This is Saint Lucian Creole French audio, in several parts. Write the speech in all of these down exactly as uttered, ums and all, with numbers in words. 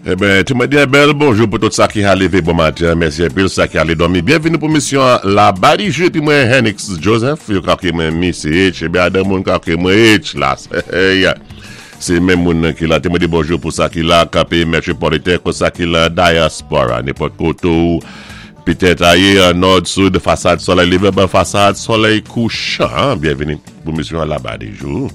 Eben, ti mwen di yon bèl bonjou pou tout sa ki a lévé bon maten. Mèsi anpil sa ki alé dòmi. Byenvini pou misyon La Badi Jou. Épi mwen Henix Joseph, yo ka kwé mwen Missy H, ébyen Adam moun ka kwé mwen H la. Sé menm moun ki la. Ti mwen di bonjou pou sa ki la kapé metropolitan, pou sa ki la diaspora. Nenpòt koté ou petèt ayé nò, sid, fasad solèy lévé, ben fasad solèy kouchan. Byenvini pou misyon La Badi Jou.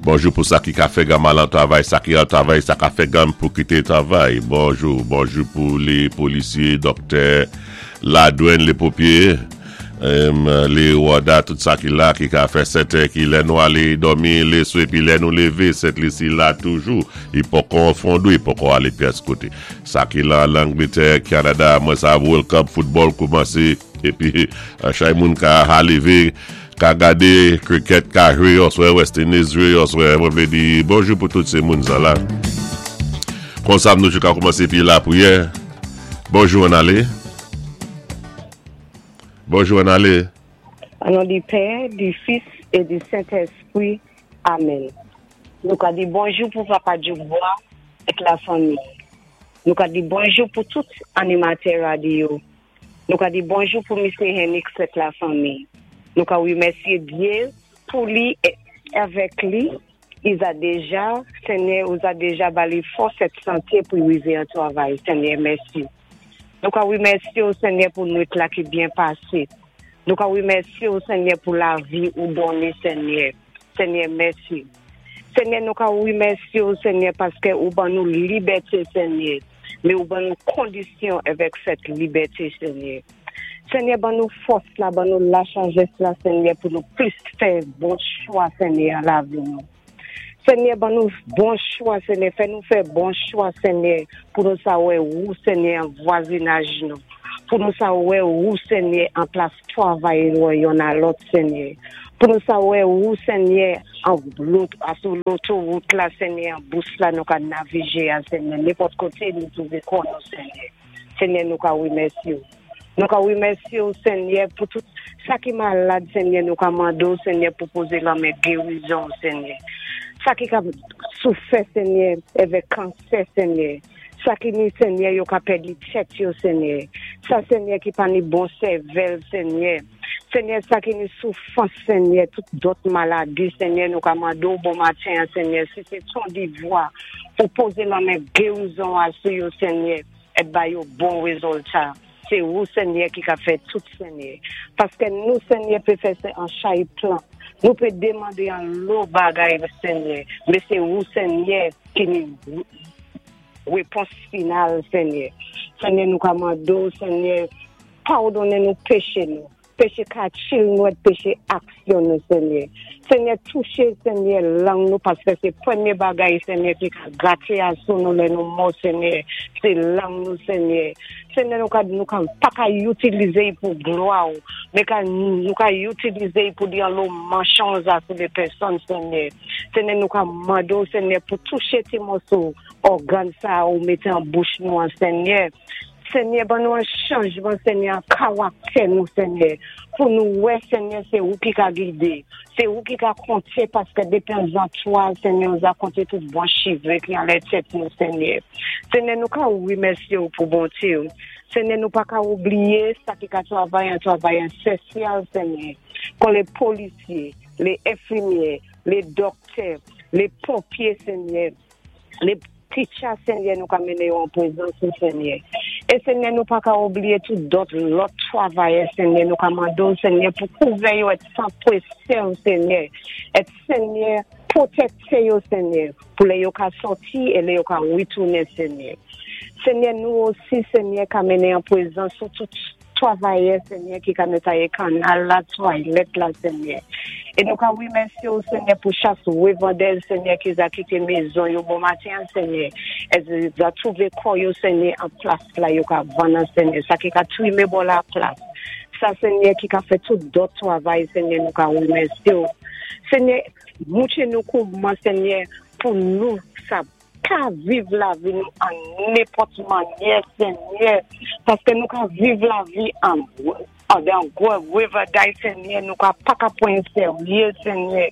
Bonjou pou sa ki ka fè gaman lan travay, sa ki an travay, sa ka fè gam pou kité travay. Bonjou, bonjou pou lé polisyé, doktè, ladwann, lé ponpyé, lé wòda, tout sa ki la, ki ka fè sèten ki lè nou alé dòmi, lé swa, épi lè nou lévé, Sent Lisi la toujou. I poko fondou, i poko alé pyès koté. Sa ki la, Langlétè, Kanada, mwen sa World Cup football koumansé, épi chay moun ka ha lévé, ka gadé cricket, ka jwé, oswè West Indies jwé, oswè, mwen vlé di bonjou pou tout sé moun sa la. Konsa nou ka koumansé pi lapriyè. Bonjou an alé. Bonjou an alé. An non di Pè, di Fis é di Sentespwi. Amen. Nou ka di bonjou pou Papa Djoukbois ak la fanmi. Nou ka di bonjou pou tout animatè radyo. Nou ka di bonjou pou Misye Henrik ak la fanmi. Nou ka wimèsyé Dye pou li avèk li. I a déja, Senyè, ou a déja ba li fòs ak santé pou rivé an travay. Senyè, mèsi. Nou ka wimèsyé ou Senyè pou nwit la ki byen pasé. Nou ka wimèsyé ou Senyè pou lavi ou donné Senyè. Senyè, mèsi. Senyè, nou ka wimèsyé ou Senyè paské ou ban nou libèté Senyè. Mé ou ban nou kondisyon avèk sèt libèté Senyè. Senyè, ban nou fòs la, ban nou la sajès la Senyè pou nou plis fè bon chwa Senyè an lavi nou. Senyè, ban nou bon chwa Senyè, fè nou fè bon chwa Senyè pou nou sa wè ou Senyè an vwazinaj nou. Pou nou sa wè ou Senyè an plas travay nou youn a lòt Senyè. Pou nou sa wè ou Senyè an lòt, sou lotowout la Senyè, an bous la nou ka navigé a Senyè. Nenpòt koté nou twouvé kò nou Senyè. Senyè, nou ka wimèsyé ou. Nou ka wimèsyé ou Senyè pou tout sa ki malad Senyè, nou ka mandé ou Senyè pou pozé lanmen gérizon Senyè. Sa ki ka soufè Senyè avèk kansè Senyè. Sa ki ni Senyè yo ka pèdi tèt yo Senyè. Sa Senyè ki pa ni bon sèvèl Senyè. Senyè sa ki ni soufrans Senyè, tout dòt maladi Senyè, nou ka mandé ou bon maten Senyè, si sé ton divwa pou pozé lanmen gérizon a sou yo Senyè, é ba yo bon rézilta. Sé ou Senyè ki ka fè tout Senyè. Paské nou Senyè pé fè sé an chay plan. Nou pé demandé an lo bagay Senyè. Mé sé ou Senyè ki ni répons final Senyè. Senyè nou ka mandé ou Senyè, padonnen nou péché nou. Péché kachil nou et péché aksyon nou Senyè. Senyè touché Senyè lang nou paské sé pwémyé bagay Senyè ki ka gaté a sou nou lè nou mò Senyè. Sé lang nou Senyè. Senyè nou ka, nou ka pa ka itilizé pou glwa ou, mé ka, nou ka itilizé pou di an lo mansonj a sou de pèsòn Senyè. Senyè nou ka mandé ou Senyè pou touché ti moso ògàn sa ou mété an bouch nou an Senyè. Senyè, ban nou an chanjman, Senyè, an karaktè nou, Senyè, pou nou wè, Senyè, sé ou ki ka gidé, sé ou ki ka konté, paské dépi an twa, Senyè, ou a konté tout bon chivé ki anlè tèt nou, Senyè. Senyè, nou ka wimèsyé ou pou bonté ou. Senyè, nou pa ka oubliyé sa ki ka travay an travay an sosyal, Senyè, kon lé polisyé, lé enfimyé, lé doktè, lé ponpyé, Senyè, lé teacher, Senyè, nou ka mennen yo an pwézans ou, Senyè. É Senyè, nou pa ka oubliyé tout dòt lòt travayè, Senyè, nou ka mandé ou, Senyè, pou kouvè yo ak san pwésyé ou, Senyè. É Senyè, pwotéjé yo, Senyè, pou lè yo ka sòti é lè yo ka witounen, Senyè. Senyè, nou osi, Senyè, ka mennen an pwézans ou tout travayè, Senyè, ki ka nétwayé kannal la, twalèt la, Senyè. É nou ka wimèsyé ou, Senyè, pou chas wévandè, Senyè, ki za kité mézon yo bon maten, Senyè. É za twouvé kò yo, Senyè, an plas la, yo ka vann, Senyè. Sa ki ka twimé bò la plas. Sa, Senyè, ki ka fè tout dòt travay, Senyè, nou ka wimèsyé ou. Senyè, moutré nou kouman, Senyè, pou nou sa ka viv lavi nou an nenpòt mannyè, Senyè, paské nou ka viv lavi an an dan gwo wévaday, Senyè, nou ka pa ka pwan séryé, Senyè.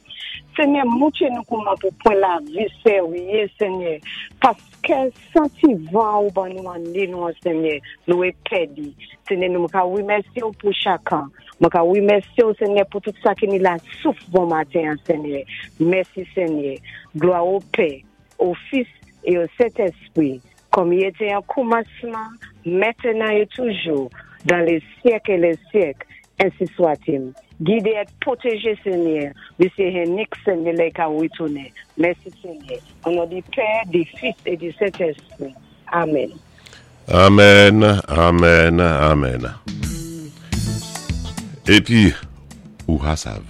Senyè, moutré nou kouman pou pwan lavi séryé, Senyè, paské san ti van ou ban nou an nou, Senyè, nou é pèdi. Senyè, nou ka wimèsyé ou pou chakan. Mwen ka wimèsyé ou, Senyè, pou tout sa ki ni la souf bon maten, Senyè. Mèsi, Senyè. Glwa o Pè, o Fis é o Sentespwi, kòm i été an koumansman, mentnan é toujou, dan lé syèk é lé syèk, ensi swa-t-il. Gidé é pwotéjé, Senyè, Misyé Hennick, Senyè, lè i ka witounen. Mèsi, Senyè. O non di Pè, di Fis é di Sentespwi. Amen. Amen, amen, amen. Épi, ou ka sav.